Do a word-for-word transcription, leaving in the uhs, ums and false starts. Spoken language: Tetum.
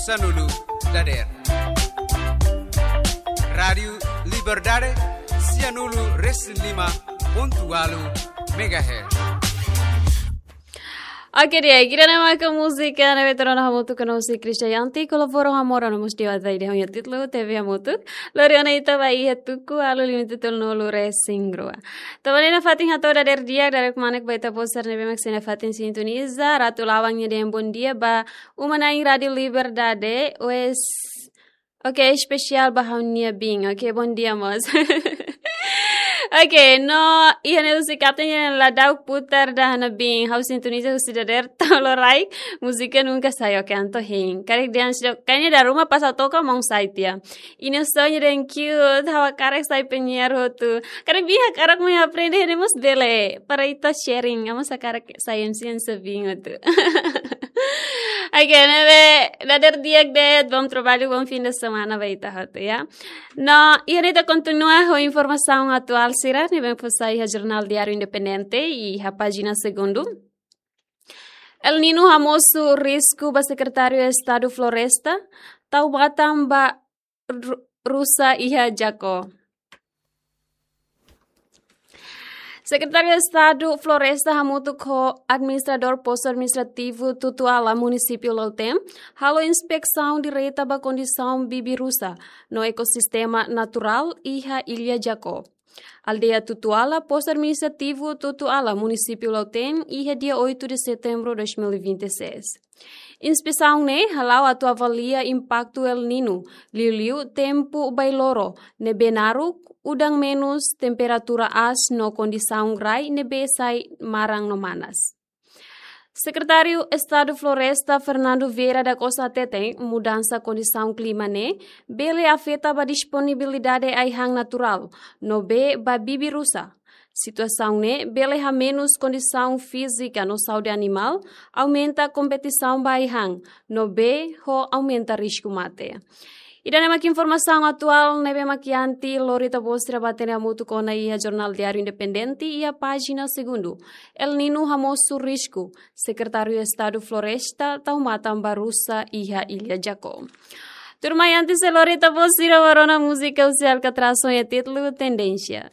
sanulu dadeer. Rádiu Liberdade, sianulu resin lima pontu ualu megahertz. Oke, di'ak, ida-ne'e maka múzika ne'ebé tuur ona hamutuk ho Kristianti, kolabora hamutuk no mós di'ak, ida-ne'e nia títulu T V Hamutuk. Lori ona ita ba iha tuku ualu lima tolu nulu resin rua. Tanba ne'e nafatin hato'o dadeer di'ak, dadeer kmanek ba ita-boot sira ne'ebé mak sei nafatin sintoniza, Ratu Lawang nia dehan bondia ba uma-na'in Rádiu Liberdade, wes, oke, espesiál ba ha'u-nia biin. Oke, bondia mós. Oke, no iha ne'e husi kapten nia ladauk putar da hana biin. Ha'u sintoniza husi dadeer to'o loraik, múzika nunka sai, oke, entaun hein. Karik dehan seidauk, kayaknya dari rumah pas ha'u toka maun sai tiha. Ina sonho dehan cute, ha'u hakarak sai penyiar hotu. Karik biin hakarak mai aprende, ne'e mós bele. Para ita sharing, ha'u mós hakarak sai M C hanesan biin hotu. Oke, ne'ebé dadeer di'ak de'it, bom trabalho, bom fim de semana ba ita hotu, ya. No, iha ne'e ita kontinua ho informasaun atuál sira ne'ebé fó sai iha Jornál Diáriu Independente iha pájina segundu. El Niño hamosu risku ba Sekretáriu Estadu Floresta, tau matan ba ru-, rusa iha Jacó. Sekretáriu Estadu Floresta hamutuk ho Administradór Postu Administrativu Tutuala Munisípiu Lautém halo inspesaun direta ba kondisaun bibi-rusa no ekosistema naturál iha Ilha Jacó, aldeia Tutuala, Postu Administrativu Tutuala, Munisípiu Lautém, iha dia oito de setembro dois mil e vinte e seis. Inspesaun ne'e hala'o atu avalia impaktu El Niño, liuliu tempu bailoro ne'ebé naruk, udan menus, temperatura aas no kondisaun rai ne'ebé sai maran no manas. Sekretáriu Estadu Floresta Fernando Vieira da Costa hateten, mudansa kondisaun klima ne'e bele afeta ba disponibilidade ai-han naturál no bee ba bibi-rusa. Situasaun ne'e bele hamenus kondisaun fízika no saúde animál, aumenta kompetisaun ba ai-han no bee ho aumenta risku mate. Ida-ne'e mak informasaun atuál ne'ebé mak iha ita, lori ita-boot sira ba hatene hamutuk ona iha Jornál Diáriu Independente iha pájina segundu. El Niño hamosu risku, Sekretáriu Estadu Floresta tau matan ba rusa iha Ilha Jacó. Tuirmai antes de lori ita-boot sira ba rona múzika husi Alcatraz ho nia títulu Tendénsia.